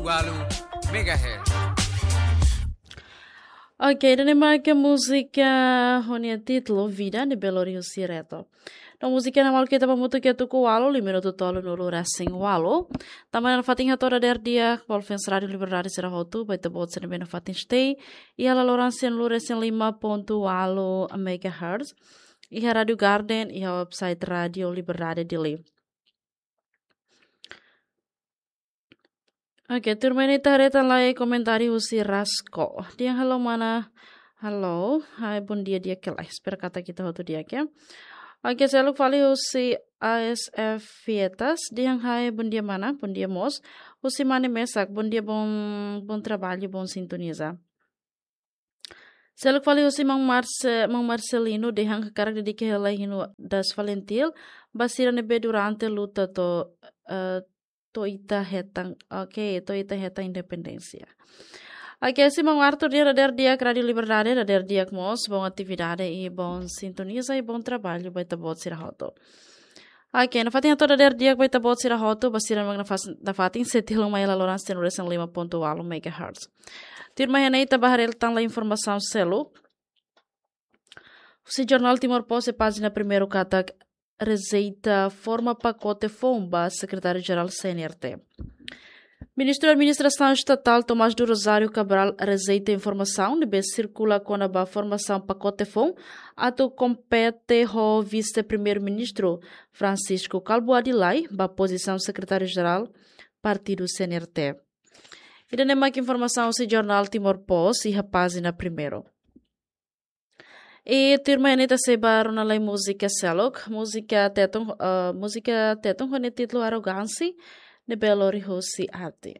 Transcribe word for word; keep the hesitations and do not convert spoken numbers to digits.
Walu megahertz. Ok, ida-ne'e mak múzika ho nia títulu Vida ne'ebé lori husi Reto. No múzika ne'e malu kita ba mutu ke tuku walu, lima minutu tolu no lura sing walu. Tanba ne'e nafatin hato'o dadeer di'ak ba fans Rádio Liberdade sira hotu, ba ita-boot sira ne'ebé nafatin stay iha laloran cem lura cem lima ponto walu megahertz. Iha Rádio Garden, iha website Rádio Liberdade Dili. Ok, tuirmai ne'e ita haree tan lai komentáriu husi Rasko. Dehan halo mana, halo, hai, bom dia, di'ak ka lae. Espera katak ita hotu di'ak, ya. Ok, seluk fali husi A S F Fietas. Dehan hai, bom dia mana, bom dia mós. Husi Mane Mesak, bom dia, bom, bom trabalho, bom sintoniza. Seluk fali husi Mang Marce-, Mang Marcelino dehan hakarak dedika hela hinu Das Valentil ba sira ne'ebé durante luta to'o, eh, to'o ita hetan, ok, to'o ita hetan independénsia. Ok, husi Mang Arthur dehan dadeer di'ak Rádio Liberdade, dadeer di'ak mós, bom atividade i bom sintoniza i bom trabalho ba ita-boot sira hotu. Ok, nafatin hato'o dadeer di'ak ba ita-boot sira hotu, ba sira mak nafas-, nafatin sei tilun mai laloran cem lima ponto walu megahertz. Tuirmai ne'e ita bá haree tan lai informasaun seluk. Husi jornál Timor Post iha pájina primeiru katak rejeita forma pakote foun ba Sekretáriu-Jerál C N R T. Ministru Administrasaun Estatál Tomás do Rosário Cabral rejeita informasaun ne'ebé sirkula kona-ba formasaun pakote foun atu kompete ho Vise-Primeiru-Ministru Francisco Calbuadi Lay ba pozisaun Sekretáriu-Jerál Partidu C N R T. Ida-ne'e mak informasaun husi jornál Timor Post iha pájina primeiru. I tuirmai ne'e ita sei bá rona lai múzika seluk, múzika Tetun, eh, múzika Tetun ho nia títulu Arogánsia, ne'ebé lori husi Arte.